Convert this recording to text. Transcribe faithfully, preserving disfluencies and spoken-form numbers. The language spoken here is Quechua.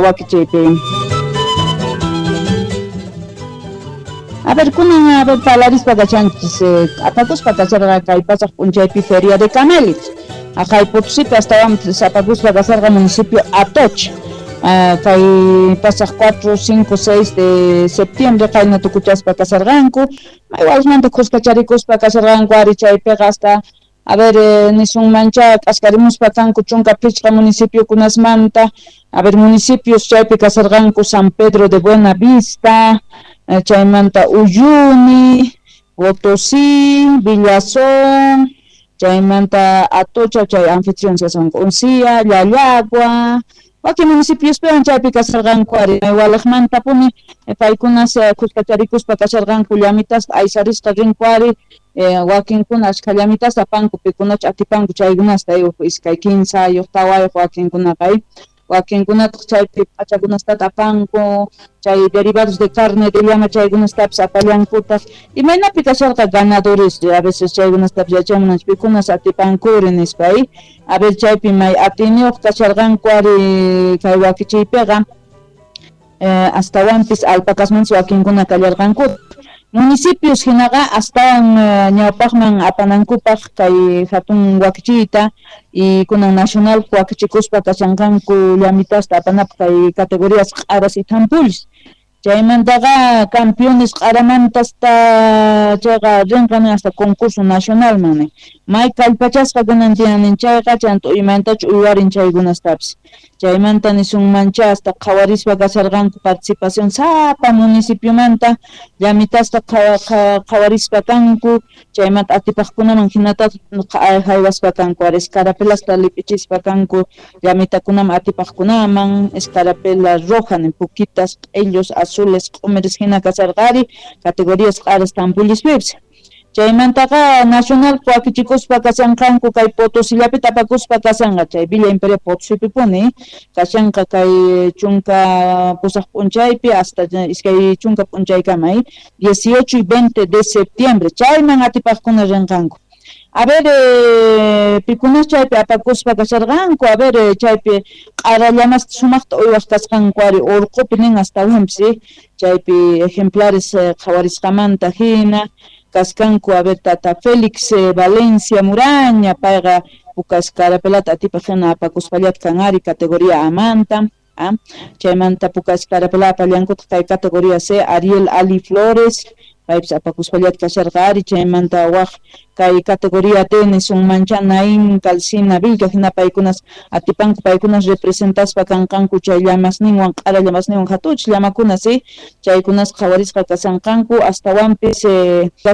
Wakichiypi. A ver, kunan a ver palarispa kachanchis, eh, apakuspa kasharqa kay pasaq p'unchaypi Feria de Camélidos. Aqhay Potosípi astawan apakuspa kasharqa municipio Atocha. Uh, kay pasaq cuatro, cinco, seis de septiembre qayna tukuchaspa kasharqanku. Maywalmanta khuskacharikuspa kasharqanku ari chaypiqa hasta a ver, eh, nisunmancha k'askarimuspa kanku chunka phichqa municipiokunasmanta. A ver, municipios chaypi kasharqanku San Pedro de Buena Vista, eh, chaymanta Uyuni, Potosí, Villazón, chaymanta Atocha, chay anfitrión kashanku Uncía, Llallagua, wakin municipios-piwan chaypi kasharqanku ari maywalaqmantapuni paykunas khuskacharikuspa kasharqanku llamitaspa aysarisqa rinku ari eh, wakinkuna ashkha llamitasta apanku pikunachu atipanku chaykunasta huk iskay kinsayuq tawayuq wakinkunaqa wakinkunataq chaypi p'achakunastata apanku chay derivados de carne de llama chaykunastapis apallankutaq imaynapi kasharqa ganadores a veces chaykunastapis yachamunanchik pikunas atipankuri nispa a ver chaypi may atiniyuq kasharqanku ari kay wakichiypiqa eh, astawanpis alpacasmantas wakinkuna kallarqanku municipios hinaqa astawan ñawpaqman apanankupaq kay hatun wakichiyta y kunan nacional wakichikuspa kashanqanku llamitasta apanapaq kay categorías q'aras y thampullis chaymantaqa campeones q'aramantasta chayqa rinqan hasta concurso nacionalman may kallpachasqa kunan tiyan chayqa chanta uymantachu uywarin chaykunastapis chaymanta nisunmancha hasta qhawarispa kasharqanku participación sapa municipiomanta llamitasta qhawarispa kanku chaymanta atipaqkunaman hinata haywaspa kanku ari escarapelasta lip'ichispa kanku llamitakunaman atipaqkunaman escarapela roja nin pukitas q'illos azules q'umiris hina kasharqa ari categorías q'aras tampullispipis chaymantaqa nacional wakichikuspa kashanqanku kay Potosíllapi tapakuspa kashanqa chay Villa Imperial Potosípipuni kashanqa kay chunka pusaq p'unchaypi hasta iskay chunka p'unchaykama dieciocho y veinte de septiembre chayman atipaqkuna rinqanku. A ver, eh, pikunas chaypi apakuspa kasharqanku, a ver, eh, chaypi q'ara llamasta sumaqta uywaq kasqanku ari urqupi nin astawanpis chaypi ejemplares eh, qhawarisqamanta hina kaskanku a ver tata Félix eh, Valencia Muraña payqa puka escarapelata atipaq hina apakuspallata kan ari categoría amanta ah, chaymanta puka escarapela apallankutaq kay categoría C Ariel Ali Flores paypis apakuspallata kasharqa ari chaymanta waq kay categoría D nisunmancha Naín Calcina Vilca hina paykunas atipanku paykunas representaspa kanqanku chay llamasninwan q'ara llamasninwan hatuchik llamakunas chaykunas qhawarisqa kashanqanku astawanpis eh,